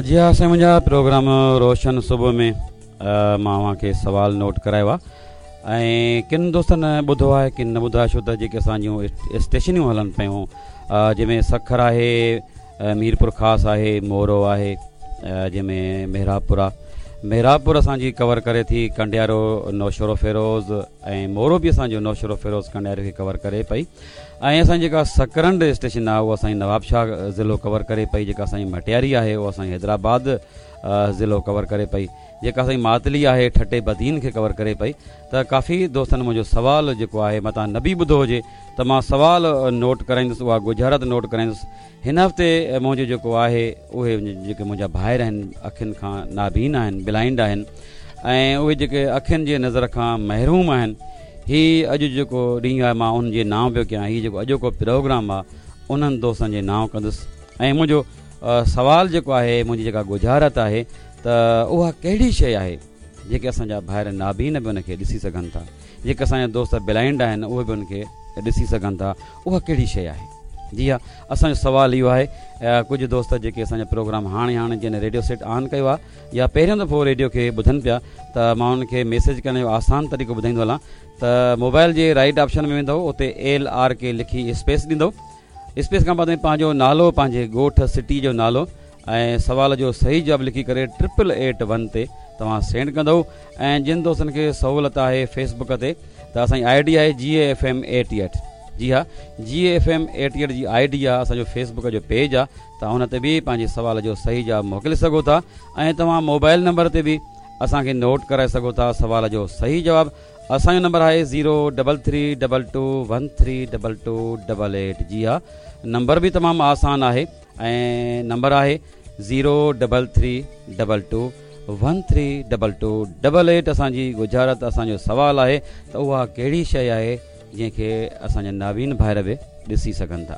جي ها سائين منهنجا پروگرام روشن صبح ۾ مان اوهان کي سوال نوٽ ڪرايو آهي ۽ ڪن دوستن ٻڌو آهي ڪن نه ٻڌو آهي ڇو ته جيڪي اسان جون اسٽيشنيون هلن پيون جنهن ۾ سکر آهي ميرپور خاص آهي مورو آهي جنهن ۾ محرابپور آهي محرابپور اسان جي ڪور ڪري ٿي ڪنڊيارو نوشهرو فيروز ۽ مورو به اسان جو نوشهرو فيروز ڪنڊيارو کي ڪور ڪري پئي ۽ اسان جي جيڪا سڪرنڊ اسٽيشن آهي اها اسان جي نوابشاهه ضلعو ڪور ڪري پئي جيڪا اسان جي مٽياري آهي اها اسان جي حيدرآباد ضلعو ڪور ڪري پئي جيڪا اسان جي ماتلي آهي ٺٽي بدين کي ڪور ڪري پئي ته ڪافي دوستن منهنجو سوال جيڪو آهي متان نه به ٻڌو هجي ته مان سوال نوٽ ڪرائيندس اها ڳجهارت نوٽ ڪرائيندس هن هفتي منهنجو جيڪو آهي اهي جيڪي منهنجا ڀائر آهن اکين کان نابين آهن بلائنڊ آهن ۽ اهي جيڪي اکين جي نظر کان محروم آهن هي اڄ جيڪو ڏينهن آهي مان انهن جي نانء پيو ڪيان هي جيڪو اڄوڪو پروگرام آهي انهن دوستن جي نانء ڪندس ۽ منهنجو سوال جيڪو آهي منهنجي جيڪا ڳجهارت آهي ته اها ڪهڙي شيء آهي جيڪي اسان جا ڀائر نابين به ان کي ڏسي سگهن ٿا جيڪي اسان جا دوست بلائنڊ آهن اهي به ان کي ڏسي سگهن ٿا اها ڪهڙي شيء آهي؟ جي ها اسان جو سوال اهو آهي ڪجهه دوست جيڪي اسان جا پروگرام هاڻي هاڻي جن ريڊيو سيٽ آن ڪيو آهي يا پهريون دفعو ريڊيو کي ٻڌن پيا ته مان انهن کي ميسيج ڪرڻ جو آسان طريقو ٻڌائيندو هلان ته موبائل جي رائيٽ آپشن ۾ ويندو اتي ايل آر ڪي لکي اسپيس ڏيندو اسپيس کان بعد ۾ پنهنجو نالو پنهنجي ڳوٺ سٽي جو نالو ۽ سوال جو صحيح جواب لکي ڪري ٽرپل ايٽ ون تي توهان سينڊ ڪندو ۽ جن دوستن کي سهولت آهي فيس بڪ تي ته اسان جي I D آهي جي اي ايف ايم ايٽي ايٽ جي ها جي اي ايف ايم ايٽي ايٽ جي I D آهي اسان جو فيس بڪ جو پيج آهي توهان ان تي به پنهنجي سوال جو صحيح جواب موڪلي سگهو ٿا ۽ توهان موبائل نمبر تي به اسان کي نوٽ ڪرائي سگهو ٿا سوال جو صحيح جواب اسان جو نمبر آهي zero double three double two one three double two double eight جي ها نمبر به تمام آسان آهي ۽ نمبر آهي zero double three double two one three double two double eight اسان جي ڳجهارت اسان جو سوال آهي ته اها ڪهڙي شيء آهي جنهن کي اسان جا نابين ڀائر به ڏسي سگهن ٿا.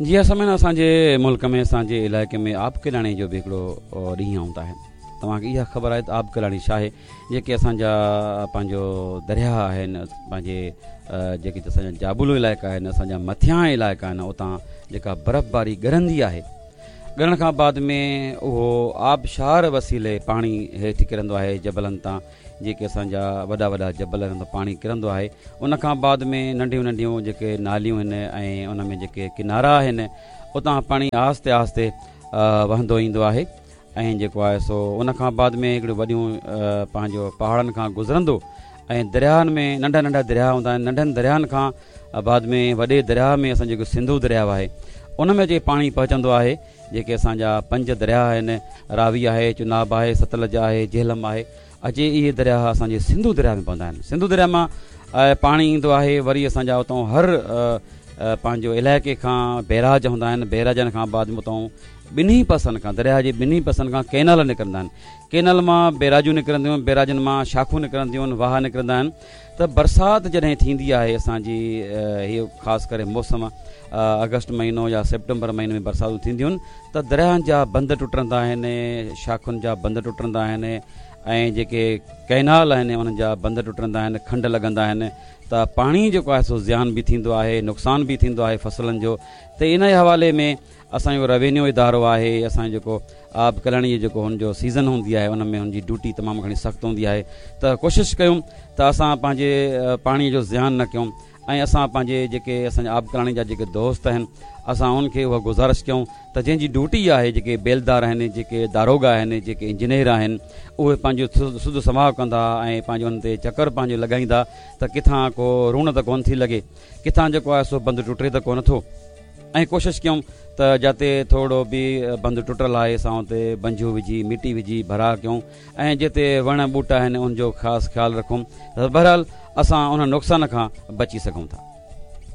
جي ها سامعين اسان جي ملڪ ۾ اسان جي علائقي ۾ آبڪلاڻي جو به هڪڙو ڏينهن هوندا آهن توهان کي اها خبر آهي ته آبڪلاڻي ڇا آهي جيڪي اسان جا پنهنجو درياهه آهن پنهنجي جيڪي اسان جا جابلو علائقا آهن اسان جا مٿيان علائقا آهن اتان جيڪا برفباري ڳرندي آهي ڳرڻ کان بعد ۾ اهو آبشار وسيلي پاڻي هيٺ ڪرندو آهي جبلن تان جيڪي اسان جا وڏا وڏا جبل آهن اتان پاڻي ڪرندو آهي ان کان بعد ۾ ننڍيون ننڍيون جيڪي ناليون آهن ۽ ان ۾ جيڪي ڪنارا آهن اتان پاڻي آهستي آهستي وهندو ايندو آهي ۽ جيڪو آهي سو ان کان بعد ۾ هڪڙيون وڏيون پنهنجو پهاڙن کان گذرندو ۽ درياهن ۾ ننڍا ننڍا درياهه هوندا آهن ننڍن درياهن کان بعد ۾ وڏي درياهه ۾ اسان جيڪو سنڌو درياهه آهي ان ۾ اچي پاڻي پهچندو آهي جيڪي اسان جا پنج درياهه آهن راوي آهي چناب آهي ستلج آهي جهلم آهي اچي اهي درياهه اسان جي سنڌو درياهه ۾ پوندا آهن سنڌو درياهه مان پاڻي ايندو آهي وري اسان جا اتان هر پنهنجو علائقي کان بيراج هوندا آهن بيراجن کان بعد ۾ اتان ٻنهي پاسن کان درياهه جي ٻنهي پاسن کان ڪينال نڪرندا آهن ڪينال مان بيراجون نڪرنديون آهن بيراجن مان شاخون نڪرنديون آهن واهه نڪرندا آهن ته برسات جڏهن ٿيندي آهي اسان جي هي خاص ڪري موسم آگسٽ مهينو يا سيپٽمبر مهيني ۾ برساتون ٿينديون آهن ته درياهن جا بند ٽٽندا آهن شاخن جا بند ٽٽندا آهن ۽ جيڪي ڪئنال آهن انهن جا بند ٽٽندا آهن کنڊ لڳندا آهن ته پاڻي جيڪو آهي سو زيان به ٿيندو آهي نقصان به ٿيندو آهي فصلن جو ته ان حوالي ۾ اسان جو روينيو ادارو آهي اسان جو جيڪو آبڪلاڻي جو جيڪو هن جو سيزن هوندي آهي ان ۾ هن جي ڊيوٽي تمام گهڻي سخت هوندي آهي ته ڪوشش ڪيون ته اسان پنهنجي پاڻي جو زيان نه ڪيون ۽ اسان پنهنجي جيڪي اسان جا آبڪلاڻي جا جيڪي دوست آهن اسان انهن کي اها گذارش ڪيون ته جنهن جي ڊيوٽي آهي جيڪي بيلدار آهن جيڪي داروغا آهن جيڪي انجنيئر آهن اهي پنهنجو سڌ سماء ڪندا ۽ پنهنجو ان تي چڪر پنهنجو لڳائيندا ته ڪٿان ڪو روڻ ته ڪونه ٿي لڳي ڪٿان جيڪو آهي سو بند ٽٽي ته ڪونه ٿو ۽ ڪوشش ڪيون ته جتي ٿورڙو به بند ٽٽل آهي اسان اتي بنجو وجهي مٽي وجهي ڀرا ڪيون ۽ جتي وڻ ٻوٽا آهن ان جو خاص خيال رکون ته بهرحال اسان ان نقصان کان بچي سگهون ٿا.